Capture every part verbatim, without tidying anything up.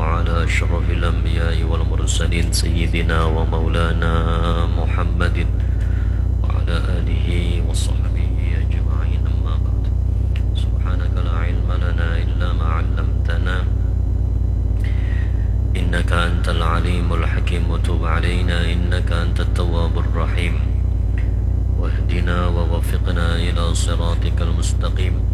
وعلى أشرف الأنبياء والمرسلين سيدنا ومولانا محمد وعلى آله وصحبه أجمعين، أما بعد. سبحانك لا علم لنا إلا ما علمتنا، إنك أنت العليم الحكيم، وتب علينا إنك أنت التواب الرحيم، واهدنا ووفقنا إلى صراطك المستقيم،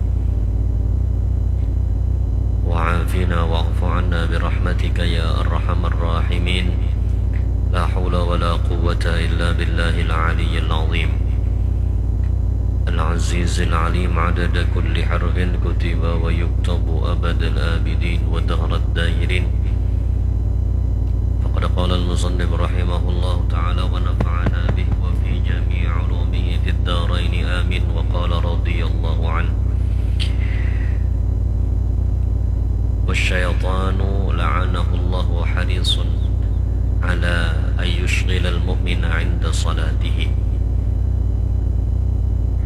وعافنا واعف عنا برحمتك يا أرحم الراحمين. لا حول ولا قوة إلا بالله العلي العظيم العزيز العليم، عدد كل حرف كتب ويكتب أبد الآبدين ودهر الداهرين. فقد قال المصنف رحمه الله تعالى ونفعنا به وفي جميع علومه في الدارين، آمين. وقال رضي الله عنه: والشيطان لعنه الله حريص على أن يشغل المؤمن عند صلاته،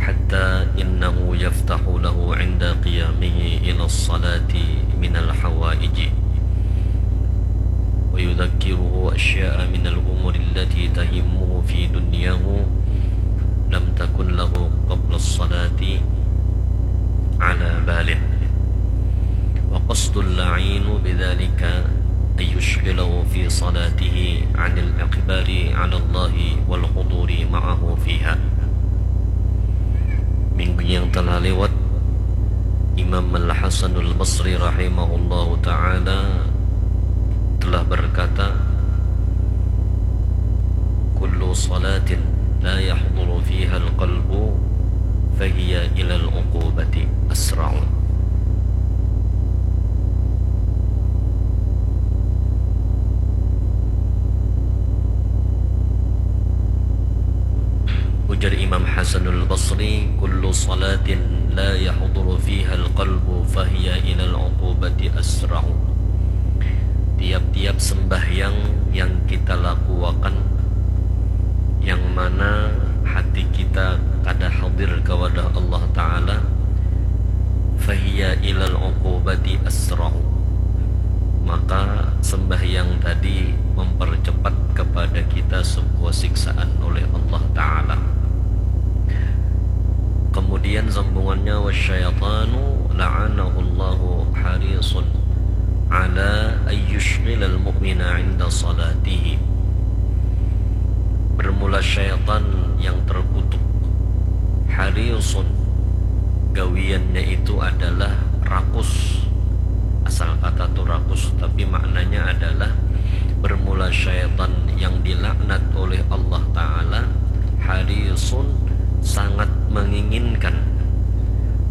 حتى إنه يفتح له عند قيامه إلى الصلاة من الحوائج، ويذكره أشياء من الأمور التي تهمه في دنياه لم تكن له قبل الصلاة على بال. وقصد اللعين بذلك أن يشغله في صلاته عن الإقبال على الله والحضور معه فيها. Minggu yang telah lewat, Imam Al-Hasanul Basri rahimahullahu ta'ala telah berkata, كل صلاة لا يحضر فيها القلب فهي إلى العقوبة أسرع. Ujar Imam Hasanul Basri, كل صلاة لا يحضر فيها القلب فهي إلى العقوبة أسرع. Tiap-tiap sembahyang yang kita lakuakan, yang mana hati kita kada hadir kepada Allah Ta'ala, فهي إلى العقوبة أسرع, maka sembahyang tadi mempercepat kepada kita sebuah siksaan oleh Allah Ta'ala. Kemudian sambungannya, والشيطان لعنه الله حريص على أن يشغل المؤمن عند صلاته. Bermula syaitan yang terkutuk, harisun, gawiannya itu adalah rakus. Asal kata tu rakus, tapi maknanya adalah bermula syaitan yang dilaknat oleh Allah Ta'ala, harisun, sangat menginginkan,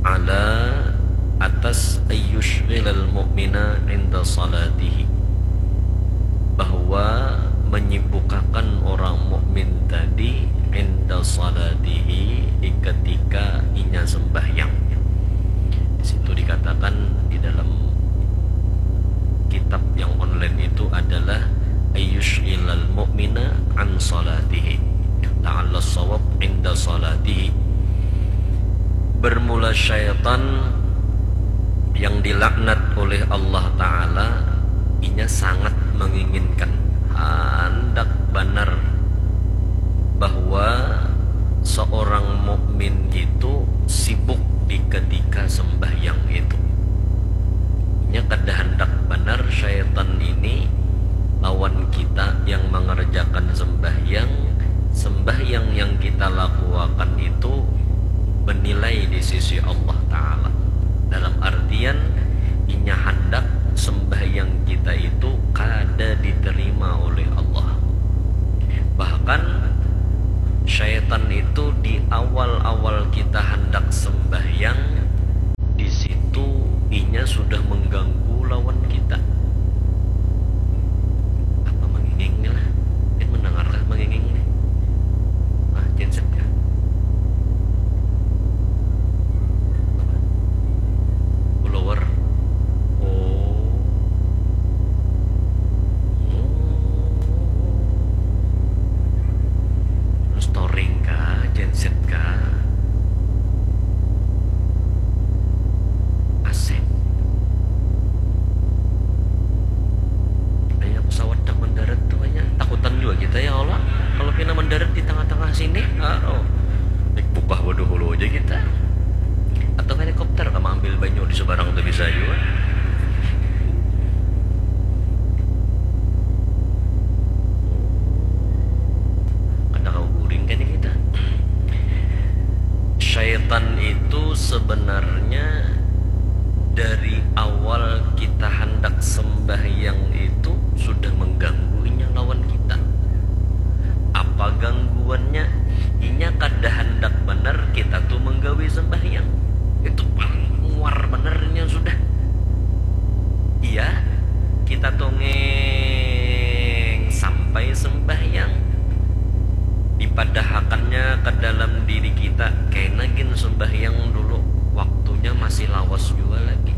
ala, atas, ayyushghilal mu'mina inda salatihi, bahwa menyibukkan orang mukmin tadi inda salatihi, di ketika inya sembahyang. Di situ dikatakan, di dalam kitab yang online itu adalah ayyushghilal mu'mina an salatihi. La'alla shawab inda salatihi. Bermula syaitan yang dilaknat oleh Allah Ta'ala, inya sangat menginginkan, handak banar bahwa seorang mukmin itu sibuk di ketika sembahyang itu. Inya kada handak banar syaitan ini lawan kita yang mengerjakan sembahyang, sembahyang yang kita lakuakan itu bernilai di sisi Allah Ta'ala. Dalam artian, inya handak sembahyang kita itu kada diterima oleh Allah. Bahkan, syaitan itu di awal-awal kita handak sembahyang, di situ inya sudah mengganggu lawan kita. Apa manginging ni lah? Kita mendengarkah manginging ni? Ah, genset kah? Apa? Blower. Oh. Darat di tengah-tengah sini, aduh. Naik bukah bodoh hulu aja kita. Atau helikopter kah maambil banyu di seberang tuh bisa juga. Kada kau guring kan kita. Syaitan itu sebenarnya dari awal kita hendak sembahyang itu sudah mengganggu inya lawan kita. Apa gangguannya? Inya kada handak banar kita tu manggawi sambahyang. Itu paling muar banar inya sudah. Iya, kita tongeng sampai sambahyang. Dipadahakannya ke dalam diri kita, kaina gin sambahyang dulu, waktunya masih lawas jua lagi.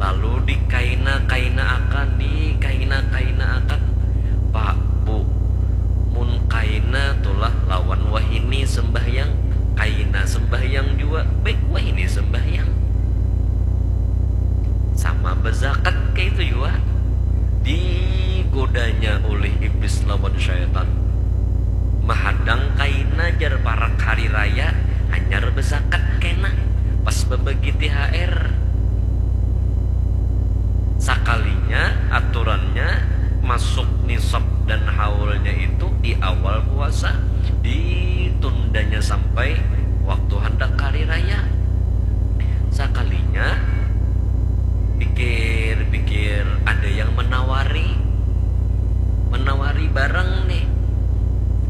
Lalu dikaina-kaina akan, dikaina-kaina akan. Pak, Bu, mun kaina tulah lawan wahini sembahyang, kaina sembahyang jua, baik wahini sembahyang. Sama bezakat kayak itu jua. Digodanya oleh iblis lawan syaitan. Mahadang kaina jar parak hari raya, hanyar bezakat kena. Pas bebagi T H R. Sakalinya aturannya masuk nisab dan haulnya itu di awal puasa, ditundanya sampai waktu hendak hari raya. Sakalinya pikir-pikir ada yang menawari, menawari barang nih.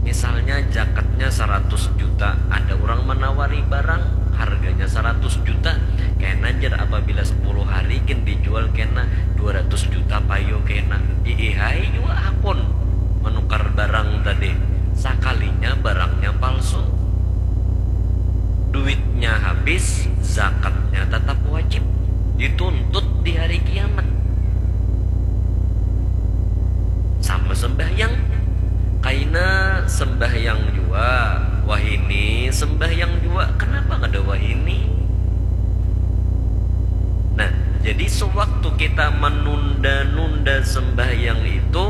Misalnya jakatnya seratus juta, ada orang menawari barang harganya seratus juta. Kena jar apabila sepuluh hari gin dijual kena dua ratus juta payu kena. Iihai jua hakun menukar barang tadi. Sakalinya barangnya palsu. Duitnya habis, zakatnya tetap wajib. Dituntut di hari kiamat. Sama sembahyang. Kaina sembahyang jua, wahini sembahyang jua. Kenapa kada wahini? Nah, jadi sewaktu kita menunda-nunda sembahyang itu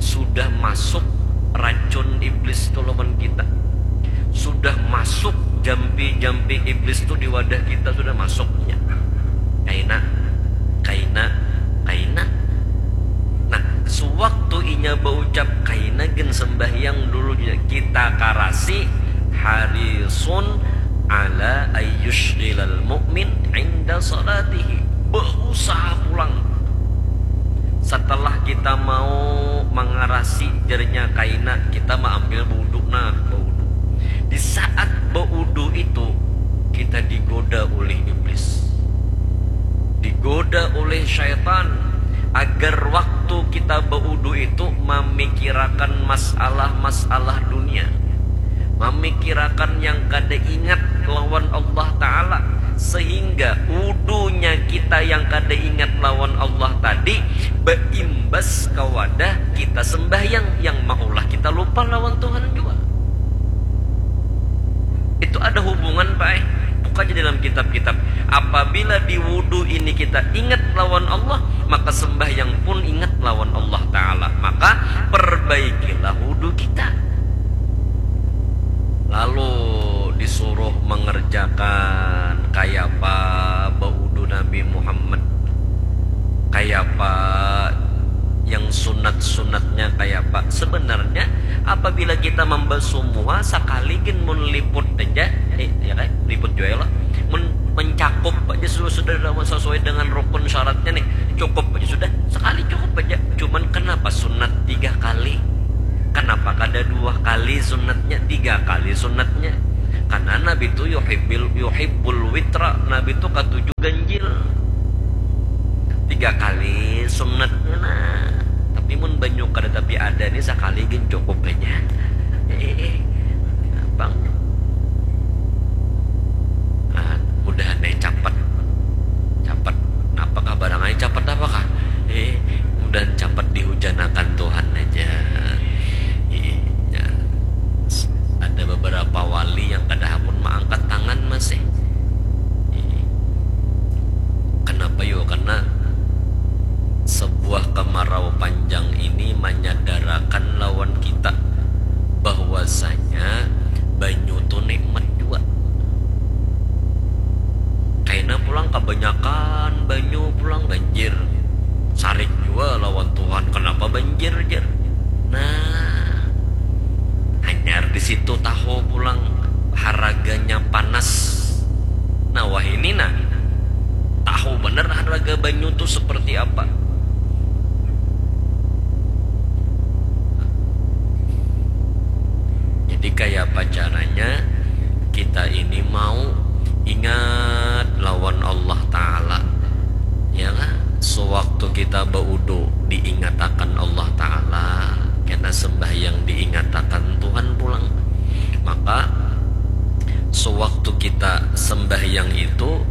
sudah masuk racun iblis tu lawan kita. Sudah masuk jampi-jampi iblis tu di wadah kita sudah masuknya. Kaina, kaina, kaina. Nah, sewaktu inya baucap kaina gen sembahyang dulu kita karasi harisun ala ayyushghilal mu'min inda salatihi. Berusaha pulang. Setelah kita mau mengarasi jarinya kaina, kita mengambil wudhu, nah, wudhu. Di saat baudu itu kita digoda oleh iblis, digoda oleh syaitan, agar waktu kita baudu itu memikirakan masalah-masalah dunia, memikirakan yang kada ingat lawan Allah Ta'ala, sehingga udunya kita yang kada ingat lawan Allah tadi berimbas ke wadah kita sembahyang yang maulah kita lupa lawan Tuhan juga. Itu ada hubungan, Pak, eh. Buka aja dalam kitab-kitab. Apabila di wudhu ini kita ingat lawan Allah, maka sembahyang pun ingat lawan Allah Ta'ala. Maka perbaikilah wudhu kita. Lalu disuruh mengerjakan kayapa baudu Nabi Muhammad, kayapa yang sunat-sunatnya kayapa. Sebenarnya apabila kita membasuh muha sakali gin mun liput aja, eh, ya kan, liput juga ya lah. Mun mencakup aja sudah, sudah sesuai dengan rukun syaratnya nih, cukup aja sudah. Sekali cukup aja. Cuman kenapa sunat tiga kali? Kenapa kada dua kali sunatnya, tiga kali sunatnya? Karena Nabi itu yuhibbil, yuhibbul witra, Nabi itu katuju ganjil. Tiga kali sunatnya nah. Tapi mun banyu kada tapi ada nih, sakali gin cukup aja. Eh, eh, eh. Gampang. Nah, mudahan nih capat. Capat. Napa kah barang ai capat apa kah? Eh, mudahan capat dihujanakan Tuhan aja. Iya. Ada beberapa wali yang kada hakun maangkat tangan masih. Iya. Kenapa yo? Karena sebuah kemarau panjang ini menyadarakan lawan kita ini mau ingat lawan Allah Ta'ala. Ya kah? Sewaktu kita baudu diingatakan Allah Ta'ala, kena sembahyang diingatakan Tuhan pulang. Maka sewaktu kita sembahyang itu,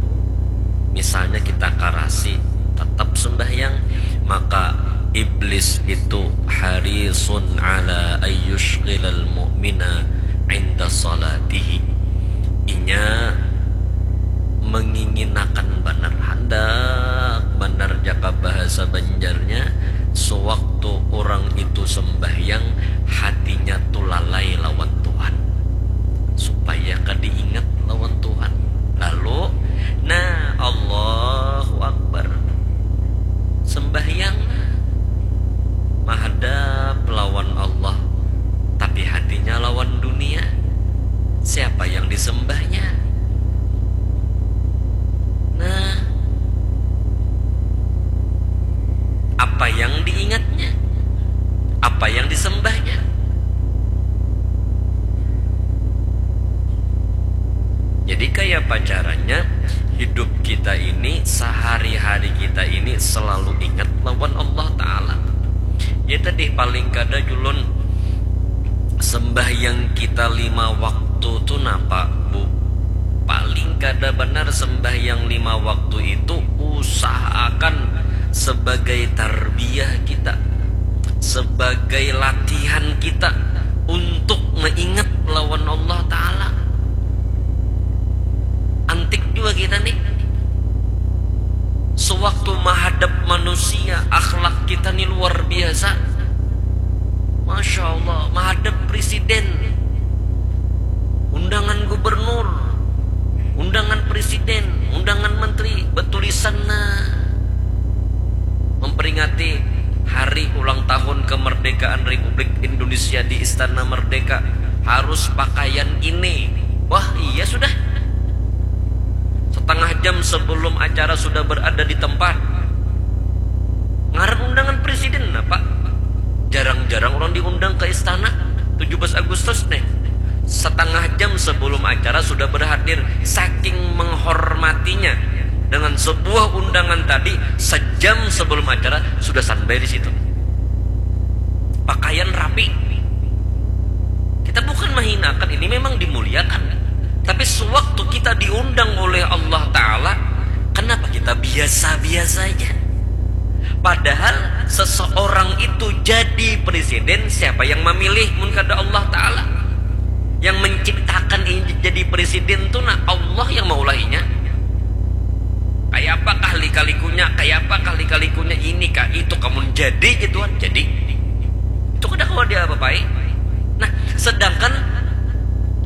misalnya kita karasi, tetap sembahyang, maka iblis itu harisun ala ayyushghilal mu'mina inda salatihi. Inya menginginakan banar, handak banar jaka bahasa Banjarnya, sewaktu orang itu sembahyang, hatinya tu lalai lawan Tuhan, supaya kada ingat lawan Tuhan. Lalu, nah, Allahu Akbar, sembahyang, nah, mahadap lawan Allah, tapi hatinya lawan dunia. Siapa yang disembahnya? Nah, apa yang diingatnya? Apa yang disembahnya? Jadi, kaya apa caranya hidup kita ini, sehari-hari kita ini selalu ingat lawan Allah Ta'ala? Ya tadi, paling kada julun sembahyang kita lima waktu tu napa, Bu? Paling kada banar sembahyang lima waktu itu usahakan sebagai tarbiyah kita, sebagai latihan kita untuk meingat lawan Allah Ta'ala. Antik jua kita nih. Sewaktu mahadap manusia, akhlak kita nih luar biasa. Masya Allah, mahadap presiden, undangan gubernur, undangan presiden, undangan menteri, betulisan, nah, memperingati hari ulang tahun kemerdekaan Republik Indonesia di Istana Merdeka, harus pakaian ini. Wah, iya sudah. Setengah jam sebelum acara sudah berada di tempat. Ngaran undangan presiden apa? Jarang-jarang orang diundang ke istana tujuh belas Agustus nih. Setengah jam sebelum acara sudah berhadir, saking menghormatinya dengan sebuah undangan tadi, sejam sebelum acara sudah standby di situ. Pakaian rapi. Kita bukan menghinakan, ini memang dimuliakan. Tapi sewaktu kita diundang oleh Allah Ta'ala, kenapa kita biasa-biasa aja? Padahal seseorang itu jadi presiden, siapa yang memilih mun kada Allah Ta'ala? Yang menciptakan ini jadi presiden tu, nah, Allah yang maulahinya. Kaya apakah lika-likunya, kaya apakah lika-likunya, ini kah, itu kah, mun jadi gituan, jadi. Itu kada kawa diapa-apai. Nah, sedangkan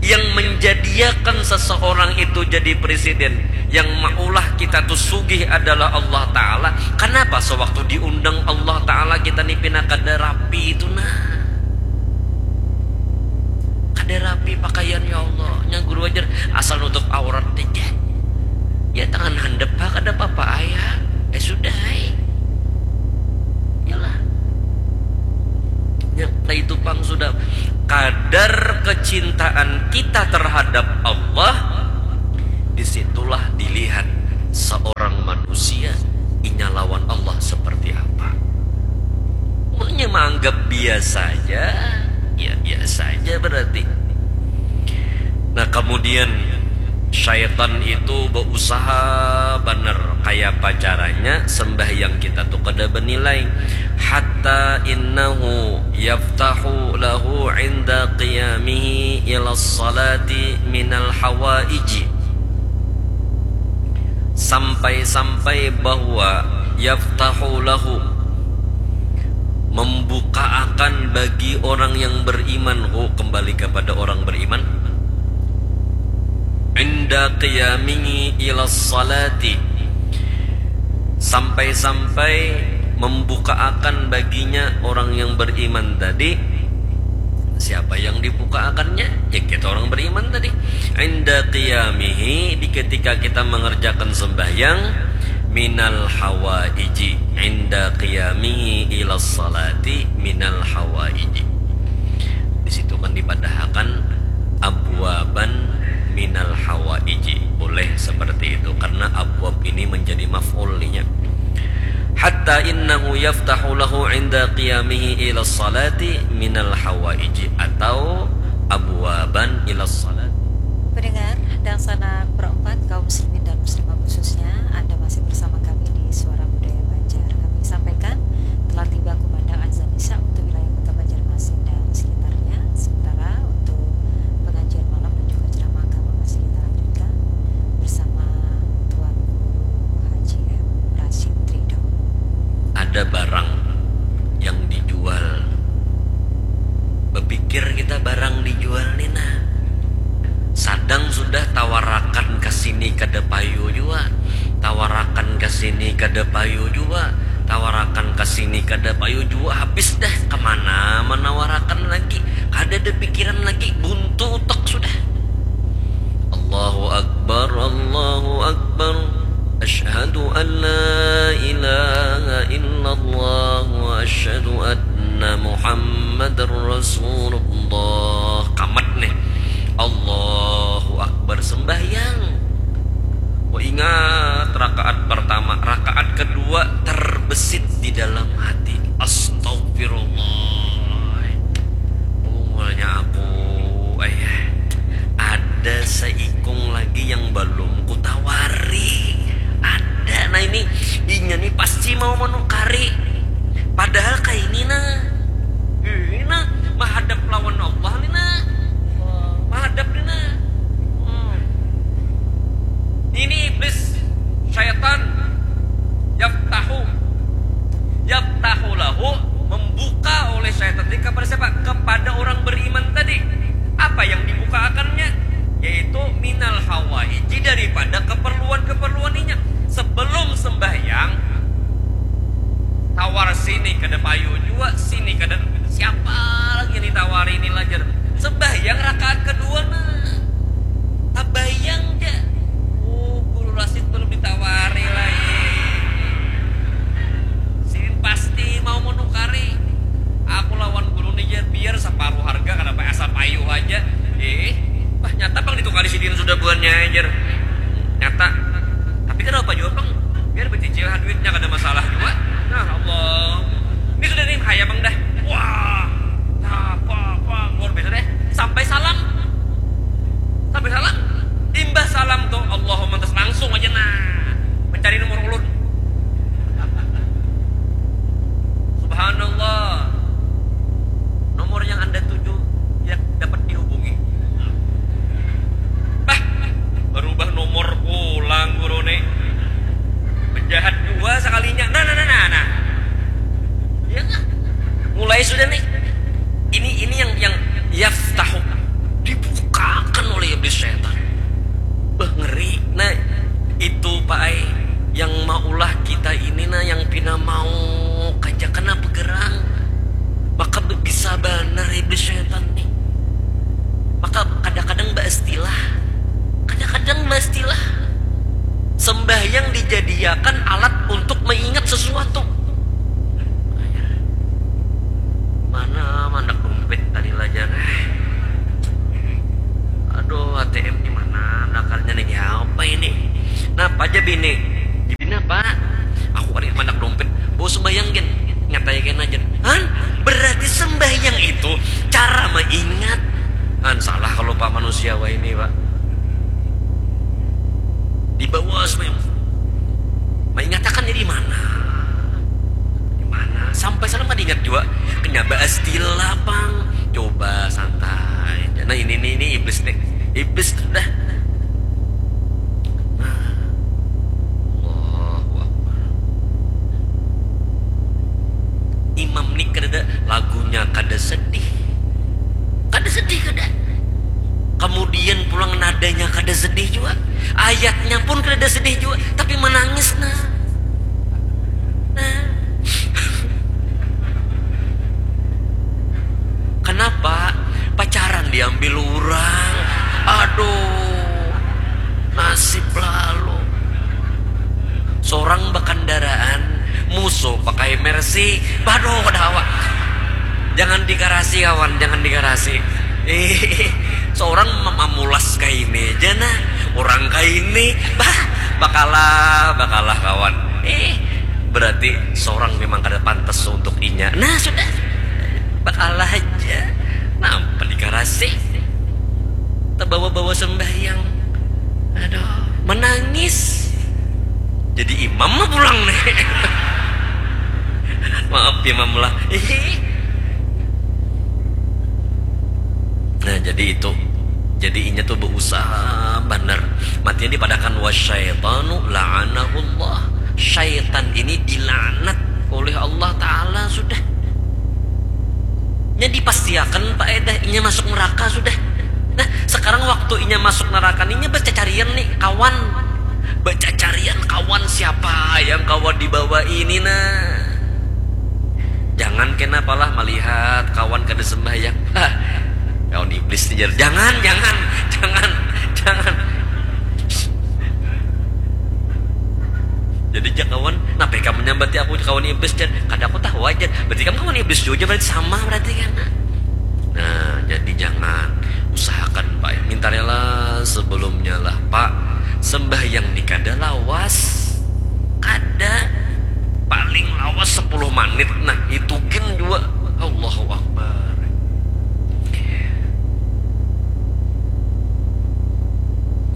yang menjadiakan seseorang itu jadi presiden, yang maulah kita tu sugih adalah Allah Ta'ala. Kenapa sewaktu diundang Allah Ta'ala kita ni pina kada rapi itu, nah? Kada rapi pakaian, ya Allah. Nya guru ajar, asal nutup aurat aja. Ya, tangan handap ha, kada apa-apa, ayah. Eh, sudah, ai. Yalah. Ya, nah itu pang sudah. Kadar kecintaan kita terhadap Allah, disitulah dilihat seorang manusia inya lawan Allah seperti apa. Mun inya menganggap biasa aja, ya biasa aja berarti. Nah, kemudian syaitan itu berusaha banar kaya apa caranya sembahyang kita tu kada bernilai. Hatta innahu yaftahu lahu inda qiyamihi ila salati minal hawaiji. Sampai-sampai bahwa yaftahu lahu, membuka akan bagi orang yang beriman, hu, kembali kepada orang beriman, inda qiyamihi ila salati, sampai-sampai membuka akan baginya orang yang beriman tadi. Siapa yang dibuka akannya? Ya, kita orang beriman tadi. Inda qiyamihi, di ketika kita mengerjakan sembahyang, minal hawaiji, inda qiyamihi ila salati minal hawaiji. Di situ kan dipadahakan abwaban minal hawaiji. Boleh seperti itu karena abwab ini menjadi maf'ul nya. Hatta innahu yaftahu lahu inda qiyamihi ila salati minal hawaiji atau abwaban ila salati. Pendengar dan sanak perempat kaum muslimin dan muslimah khususnya, Anda masih bersama kami di Suara Budaya Banjar. Kami sampaikan telah tiba kumandang azan Isya untuk wilayah Kota Banjarmasin dan sekitarnya. Sementara untuk pengajian malam dan juga ceramah agama masih kita lanjutkan bersama Tuan Guru Haji M Rashid Ridho. Ada barang yang dijual. Bepikir kita barang dijual ni nah. Sadang sudah tawarakan ke sini kada payu jua, tawarakan ke sini kada payu jua, tawarakan ke sini kada payu jua, habis dah kemana menawarakan lagi, kada ada pikiran lagi, buntu utak sudah. Allahu Akbar, Allahu Akbar. Asyhadu an la ilaha illallah wa asyhadu anna Muhammadar Rasulullah. Kamat nih. Allahu Akbar sembahyang. Wa ingat rakaat pertama, rakaat kedua terbesit di dalam hati. Astagfirullah. Bungulnya aku, ayah. Ada seikung lagi yang belum kutawari. Ada, nah ini, inya nih pasti mau menukari. Padahal kayak ini nah, ini nah, menghadap lawan Allah nih nah, menghadap nih nah. Hmm. Ini iblis, syaitan, yaftahu, yaftahu lahu, membuka oleh syaitan tadi kepada siapa? Kepada orang beriman tadi. Apa yang dibuka akannya? Yaitu minal hawaiji, daripada keperluan-keperluan inya. Sebelum sembahyang, tawar sini kada payu jua, sini kada, siapa lagi yang ditawari ini lah jar. Sembahyang rakaat kedua nah. Tabayang ja. Oh, Guru Rasid belum ditawari lagi. Sidin pasti mau menukari. Aku lawan guru ni ja, biar separuh harga, kada apa, asal payu aja. Eh, bah, nyata pang ditukari sidin sudah buhannya, jar. Nyata. Tapi kada apa jua pang. Biar becicil ha duitnya, kada masalah jua. Nah, Allah. Ini sudah nih, haya pang dah. Wah. Nah, apa, apa, luar biasa deh. Sampai salam. Sampai salam. Imbah salam tuh, Allahumma, terus langsung aja nah mencari nomor ulun. Subhanallah. Nomor yang Anda tuju yang dapat dihubungi. Bah, berubah nomor pulang guru nih. Penjahat dua sekalinya. Nah, nah, nah, nah, nah. Iya nggak? Mulai sudah nih. Ini, ini yang, yang yaftahu, dibukakan oleh iblis setan. Bah, ngeri. Nah, itu, Pak ai, yang maulah kita ini nah, yang pina mau kaja kena begerang. Maka be-, bisa banar iblis setan nih. Maka kadang-kadang baistilah. Kadang-kadang baistilah. Sembahyang dijadiakan alat untuk mengingat sesuatu. Mana mandak dompet tadi lah jar. Aduh, A T M di mana? Nakarnya nih apa ini? Napa aja bini? Jadi napa? Aku kada mandak dompet. Bawa sembahyang gen. Nyatai kena jar. Han, berarti sembahyang itu cara mengingat. Han, salah kalau Pak manusia wah ini, Pak. Dibawa sembahyang. Mengingat akan di mana? Di mana? Sampai salam kada ingat jua. Kena baistilah pang. Coba santai. Nah, ini, ini, ini iblis nih. Iblis dah. Nah. Allahu Akbar. Imam nih kada ada lagunya, kada sedih. Kada sedih, kada. Kemudian pulang nadanya kada sedih jua. Ayatnya pun kada sedih jua, tapi menangis nah. Nah. Kenapa? Pacaran diambil orang. Aduh. Nasib lalu. Sorang bakandaraan, musuh pakai Mercy. Baduh, kada hawa. Jangan dikarasi, kawan, jangan dikarasi. Ih, Orang mem- mamulas kaini aja nah, orang kaini, bah, bakalah, bakalah kawan. Eh, berarti seorang memang kada pantas untuk inya. Nah, sudah, bakalah aja. Nampa dikarasi, tabawa-bawa sembahyang, aduh, menangis. Jadi imam mah pulang nih. Maaf, imam lah. Nah, jadi itu. Jadi inya tuh berusaha benar. Matinya dipadakan, wasyaitanu la'anahullah. Syaitan ini dilaknat oleh Allah Ta'ala sudah. Nya dipastiakan, Pak, eh, dah, inya masuk neraka sudah. Nah, sekarang waktu inya masuk neraka nih, inya bercacarian nih, kawan. Bercacarian kawan siapa yang kawa dibawa ini, nah. Jangan kena palah melihat kawan kada sembahyang. Hah, kawan iblis nih, jar. Jangan, jangan, jangan, jangan. Jadi, jar kawan, napa ikam menyambati aku kawan iblis, jar? Kada, aku tahu aja. Berarti kamu kawan iblis juga, berarti sama berarti kan. Nah, jadi jangan, usahakan, Pak. Minta rela sebelumnya lah, Pak. Sembahyang ni kada lawas. Kada. Paling lawas sepuluh menit. Nah, itu gin jua. Allahu Akbar.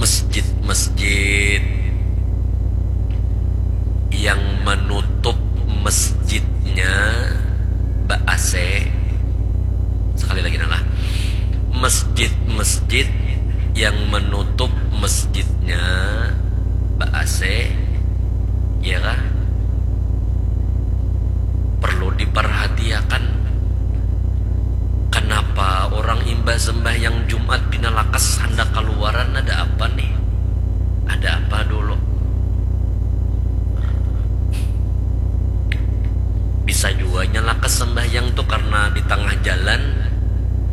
Masjid-masjid yang menutup masjidnya ba-A C. Sekali lagi, nah lah. Masjid-masjid yang menutup masjidnya ba-A C, ya kah? Perlu diperhatiakan. Kenapa orang imbah sembahyang Jumat pina lakas handak kaluaran? Ada apa nih? Ada apa dulu? Bisa jua inya lakas sembahyang tuh karena di tengah jalan,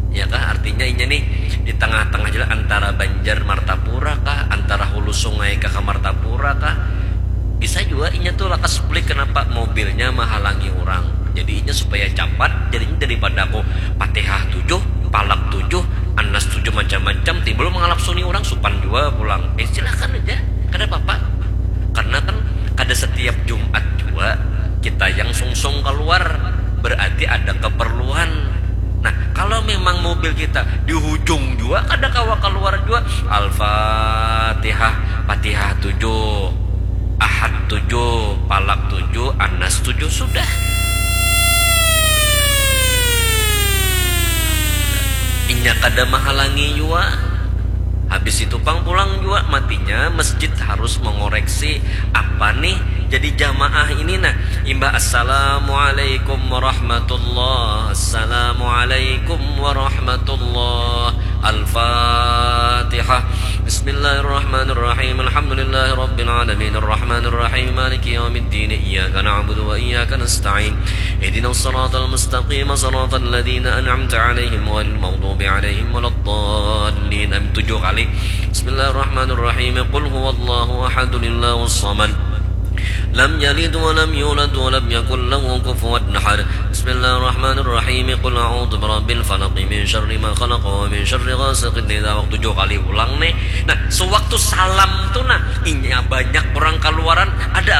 ya kah? Artinya inya nih di tengah-tengah jalan antara Banjar Martapura kah, antara Hulu Sungai kah ka Martapura kah. Bisa jua inya tuh lakas bulik, kenapa? Mobilnya menghalangi orang. Jadi inya supaya capat, jadinya daripada aku Fatihah tujuh, palak tujuh, Anas tujuh, macam-macam, timbul mengalap suni orang, supan jua pulang. Eh, silakan aja, kada apa-apa. Karena kan kada setiap Jumat jua kita yang sungsung keluar, berarti ada keperluan. Nah, kalau memang mobil kita di hujung jua, kada kawa keluar jua, Al-Fatihah, Fatihah tujuh, Ahad tujuh, Palak tujuh, Anas tujuh, sudah. Inya kada menghalangi jua. Habis itu pang pulang jua, matinya masjid harus mengoreksi apa nih jadi jamaah ini. Nah, imbah assalamualaikum warahmatullah, assalamualaikum warahmatullah, Al-Fatihah. Bismillahirrahmanirrahim. Alhamdulillahirabbil alamin. Arrahmanirrahim. Maliki yaumiddin. Iyyaka na'budu wa iyyaka nasta'in. Ihdinas siratal mustaqim. Siratal ladzina an'amta 'alaihim ghairil maghdubi 'alaihim waladdallin. Amin. Tujuh kali. Bismillahirrahmanirrahim. Qul huwallahu ahad, Allahus samad. Lam yalid wa lam yulad wa lam yakul lahu kufuwan ahad. Bismillahirrahmanirrahim. Qul a'udzu birabbil falaq, min syarri ma khalaq, wa min syarri ghasiqin idza waqab. Tujuh kali ulang nih. Nah, sewaktu salam tuh, nah, inya banyak orang kaluaran, ada